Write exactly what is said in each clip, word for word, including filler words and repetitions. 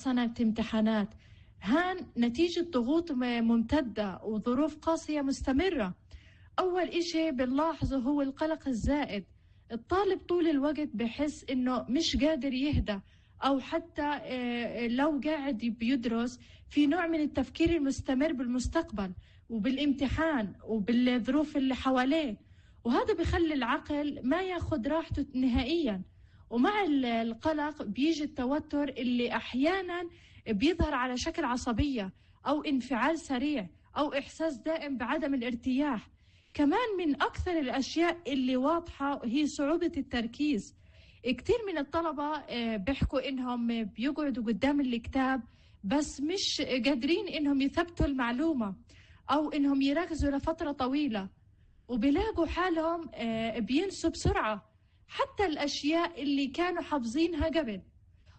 سنة امتحانات، هان نتيجة ضغوط م- ممتدة وظروف قاسية مستمرة. أول إشي بنلاحظه هو القلق الزائد. الطالب طول الوقت بحس إنه مش قادر يهدى، أو حتى آه، لو قاعد بيدرس في نوع من التفكير المستمر بالمستقبل وبالامتحان وبالظروف اللي حواليه، وهذا بخلي العقل ما ياخد راحته نهائيا. ومع ال- القلق بيجي التوتر اللي أحيانا بيظهر على شكل عصبية أو انفعال سريع أو إحساس دائم بعدم الارتياح. كمان من أكثر الأشياء اللي واضحة هي صعوبة التركيز. كتير من الطلبة آه، بيحكوا إنهم بيقعدوا قدام الكتاب بس مش قادرين إنهم يثبتوا المعلومة أو إنهم يركزوا لفترة طويلة، وبيلاقوا حالهم آه، بينسوا بسرعة حتى الأشياء اللي كانوا حافظينها قبل.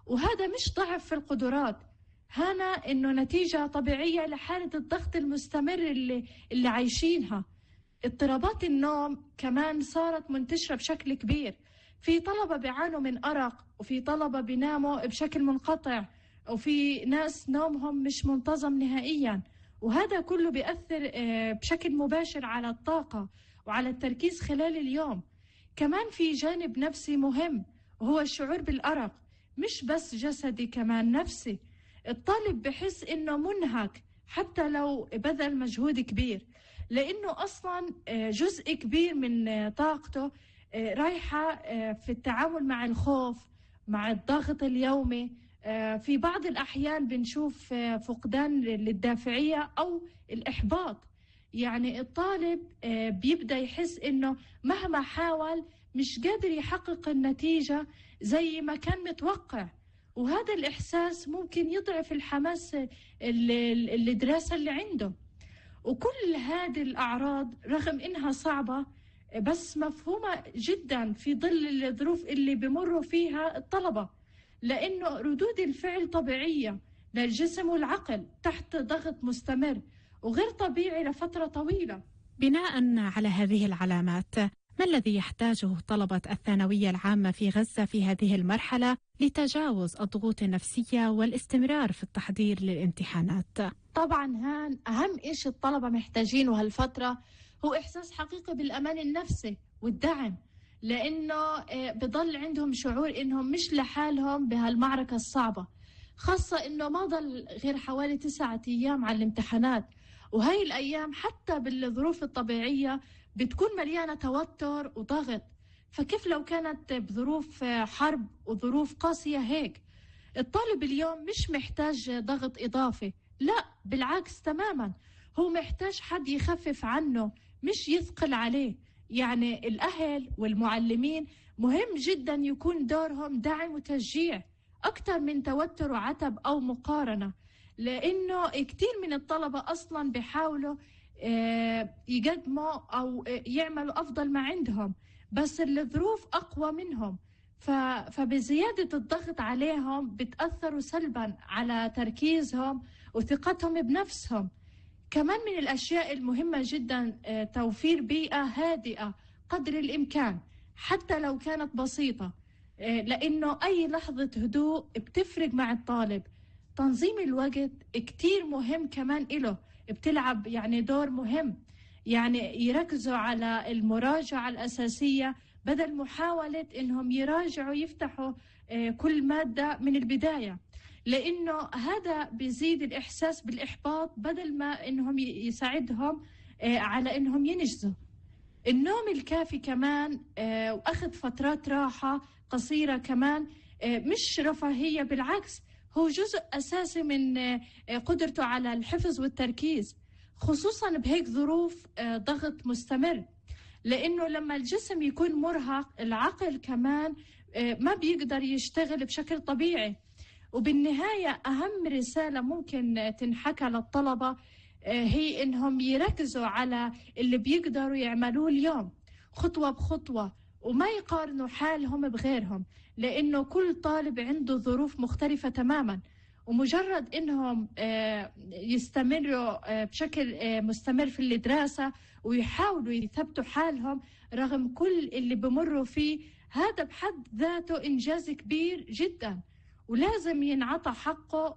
وهذا مش ضعف في القدرات، هنا إنه نتيجة طبيعية لحالة الضغط المستمر اللي, اللي عايشينها. اضطرابات النوم كمان صارت منتشرة بشكل كبير. في طلبة بيعانوا من أرق، وفي طلبة بيناموا بشكل منقطع، وفي ناس نومهم مش منتظم نهائيا. وهذا كله بيأثر آه، بشكل مباشر على الطاقة وعلى التركيز خلال اليوم. كمان في جانب نفسي مهم، وهو الشعور بالأرق، مش بس جسدي كمان نفسي. الطالب بحس إنه منهك حتى لو بذل مجهود كبير، لأنه أصلا آه، جزء كبير من آه، طاقته آه، رايحة آه، في التعامل مع الخوف، مع الضغط اليومي. آه، في بعض الأحيان بنشوف آه، فقدان للدافعية أو الإحباط. يعني الطالب آه، بيبدأ يحس إنه مهما حاول مش قادر يحقق النتيجة زي ما كان متوقع، وهذا الإحساس ممكن يضعف الحماس ال- ال- الدراسة اللي عنده. وكل هذه الأعراض رغم إنها صعبة بس مفهومة جدا في ظل الظروف اللي بمروا فيها الطلبة، لأنه ردود الفعل طبيعية للجسم والعقل تحت ضغط مستمر وغير طبيعي لفترة طويلة. بناء على هذه العلامات، ما الذي يحتاجه طلبة الثانوية العامة في غزة في هذه المرحلة لتجاوز الضغوط النفسية والاستمرار في التحضير للامتحانات؟ طبعا هان أهم إيش الطلبة محتاجينه هالفترة هو إحساس حقيقي بالأمان النفسي والدعم، لأنه آه، بضل عندهم شعور إنهم مش لحالهم بهالمعركة الصعبة، خاصة إنه ما ضل غير حوالي تسعة أيام على الامتحانات. وهاي الأيام حتى بالظروف الطبيعية بتكون مليانة توتر وضغط، فكيف لو كانت بظروف آه، حرب وظروف قاسية هيك؟ الطالب اليوم مش محتاج ضغط إضافي، لا بالعكس تماما، هو محتاج حد يخفف عنه مش يثقل عليه. يعني الأهل والمعلمين مهم جدا يكون دورهم دعم وتشجيع أكثر من توتر وعتب أو مقارنة، لأنه كتير من الطلبة أصلا بيحاولوا آه، يقدموا أو آه، يعملوا أفضل ما عندهم، بس الظروف أقوى منهم. ف- فبزيادة الضغط عليهم بتأثروا سلبا على تركيزهم وثقتهم بنفسهم. كمان من الأشياء المهمة جدا آه، توفير بيئة هادئة قدر الإمكان حتى لو كانت بسيطة، آه، لأنه أي لحظة هدوء بتفرق مع الطالب. تنظيم الوقت كتير مهم كمان إله، بتلعب يعني دور مهم. يعني يركزوا على المراجعة الأساسية بدل محاولة إنهم يراجعوا يفتحوا آه، كل مادة من البداية، لأنه هذا بيزيد الإحساس بالإحباط بدل ما إنهم ي- يساعدهم آه، على إنهم ينجزوا. النوم الكافي كمان آه، وأخذ فترات راحة قصيرة كمان آه، مش رفاهية، بالعكس هو جزء أساسي من آه، آه، قدرته على الحفظ والتركيز، خصوصا بهيك ظروف آه، ضغط مستمر. لأنه لما الجسم يكون مرهق العقل كمان آه، ما بيقدر يشتغل بشكل طبيعي. وبالنهاية أهم رسالة ممكن تنحكى للطلبة آه، هي إنهم يركزوا على اللي بيقدروا يعملوه اليوم خطوة بخطوة، وما يقارنوا حالهم بغيرهم، لأنه كل طالب عنده ظروف مختلفة تماما. ومجرد إنهم آه، يستمروا آه، بشكل آه، مستمر في الدراسة ويحاولوا يثبتوا حالهم رغم كل اللي بمروا فيه، هذا بحد ذاته إنجاز كبير جدا ولازم ينعطى حقه